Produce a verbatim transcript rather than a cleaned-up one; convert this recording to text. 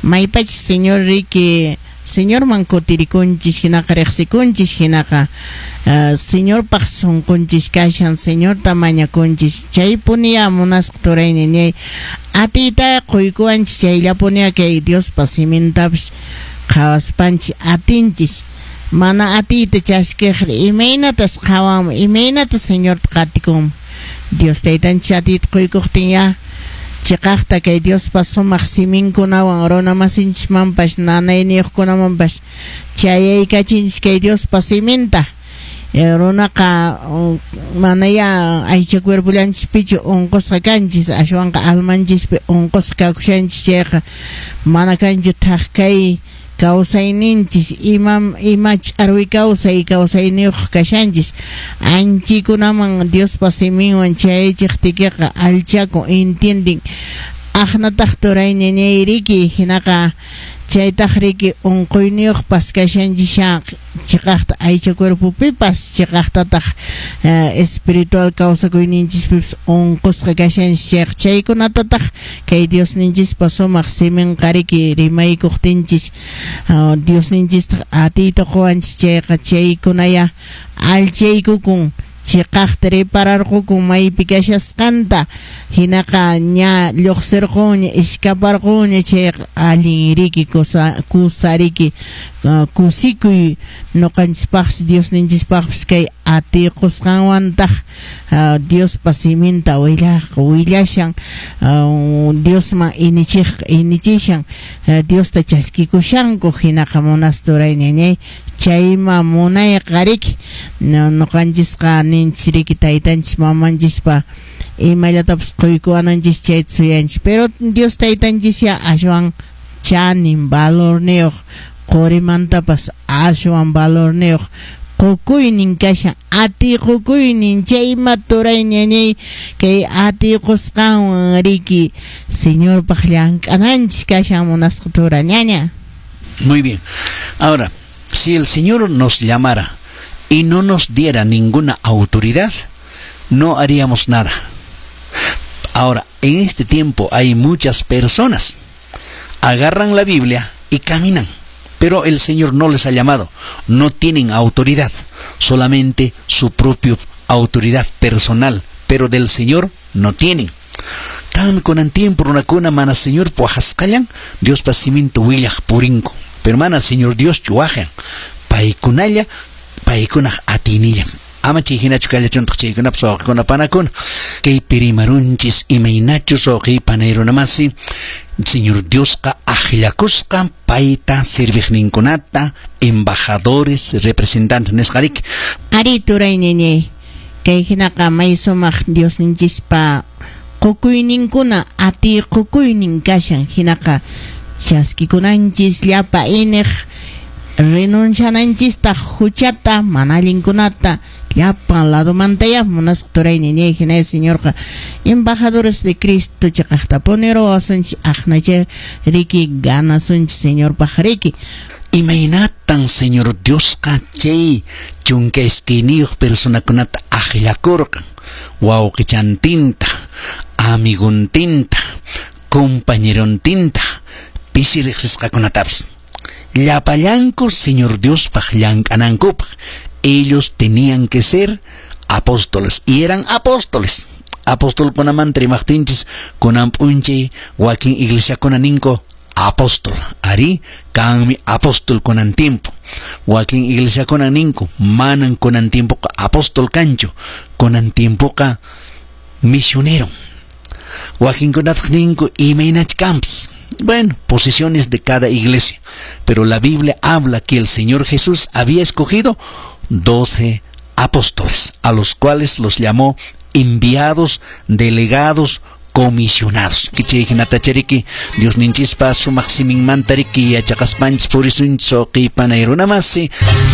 Maypachis Señor riki, Señorman kutirikunchis hinaqa, riqsikunchis hinaqa, uh, Señorpaq sunqunchis kashan, Señorta mañakunchis, chaypuniya munasqa turayni ñay atiyta quykuwanchis, chayllapuniya kay Diospa simintapas qhawaspanchis atinchis. Mana atiyta chaskiqri imaynatas qhawanman, imaynatas Señorta qatikunman? Dios taytanchis atiyta quykuqtin ya chiqaqta kay Diospa sumaq siminkunawan runa masinchismanpas nanayniyuqkunamanpas chayaykachinchis kay Diospa siminta. Runaqa manaya aycha cuerpollanchispichu unqusqa kanchis, ashwanqa almanchispi unqusqa kakushanchis, chayqa mana kanchu thak kay kawsayninchis, imam ima ch'arwi kawsay kawsayniyuq kashanchis. Anchikunaman Diospa siminwan chayachiqtiykiqa allchakun, entienden. Aqnataq turay ñañay riki, hinaqa chaytaq riki unquyniyuqpas kashanchis chiqaqta aycha cuerpopipas, chiqaqtataq espiritual kawsakuyninchispipas unqusqa kashanchis. Chayqa chaykunatataq kay Diosninchispa sumaq siminqa riki rimaykuqtinchis, Diosninchistaq atiyta quwanchis, chayqa chaykunaya allchaykukun, chiqaqta repararqukun maypi kashasqanta, hinaqa ña lluqsirqunña, iskaparqunña, chayqa allin riki, kusa kusariki, kusikuy ñuqanchispaqpas Diosninchispaqpas kay atiy qusqanwantaq Diospa siminta willaq willashan, Diosman inichiq inichishan, Diosta chaskikushanku. Hinaqa munasturay ñañay, chayma munayqa riki ñuqanchisqa ninchis riki taytanchis mamanchispa imallatapas quykuwananchis chayta suyanchis, pero Dios taytanchis ya ashwan chanin valorniyuq, qurimantapas ashwan valorniyuq qukuynin kashan, atiy qukuynin. Chayma turay ñañay kay atiy qusqanwan riki Señorpaq llank'ananchis kashan, munasqa tura ñaña. Muy bien. Ahora, si el Señor nos llamara y no nos diera ninguna autoridad, no haríamos nada. Ahora, en este tiempo hay muchas personas agarran la Biblia y caminan, pero el Señor no les ha llamado, no tienen autoridad, solamente su propia autoridad personal, pero del Señor no tienen. Kan kunan tiempo runakuna mana Señorpa wajasqallan Diospa siminta willaq purinku, pero mana Señor Dioschu wajan, paykunalla, paykunaq atinillan. Ama chay hinachu kallachuntaq chaykunapas, wawqikuna panakuna. Kaypi rimarunchis imaynachus, wawqi panay runamasi, Señor Diosqa akllakusqa payta serviqninkunata, embajadores, representantes nisqariki. Ari turay ñañay, kay hinaqa may sumaq Diosninchispa qukuyninkuna, atiy qukuynin kashan, hinaqa chaskikunanchis llapa iniq, renunciananchistaq huchata, mana allinkunata llapan ladomantaya, munasqa turay ñañay. Hina Señorqa embajadores de Cristo chiqaqtapuni ruwasunchis, aqnacha riki ganasunchis Señorpaq riki. Imaynatan Señor Diosqa chay chunka iskayniyuq personakunata akllakurqan, wawqichantinta, amiguntinta, compañerontinta, pisi riqsisqakunatapis, llapallanku Señor Diospaq llank'anankupaq? Ellos tenían que ser apóstoles y eran apóstoles. Apostolkunamanta rimaqtinchis, kunan p'unchay wakin iglesiakuna ninku apóstol, ari, kanmi apóstol kunan tiempo. Wakin iglesiakuna ninku manan kunan tiempoqa apóstol kanchu, kunan tiempoqa misionero. Wakinkunataq ninku imaynach kanpis. Bueno, posiciones de cada iglesia, pero la Biblia habla que el Señor Jesús había escogido doce apóstoles, a los cuales los llamó enviados, delegados, comisionados. Chay hinatachariki Diosninchispa sumaq siminmanta riki yachaqaspanchis purisunchis, wawqi panay runamasi.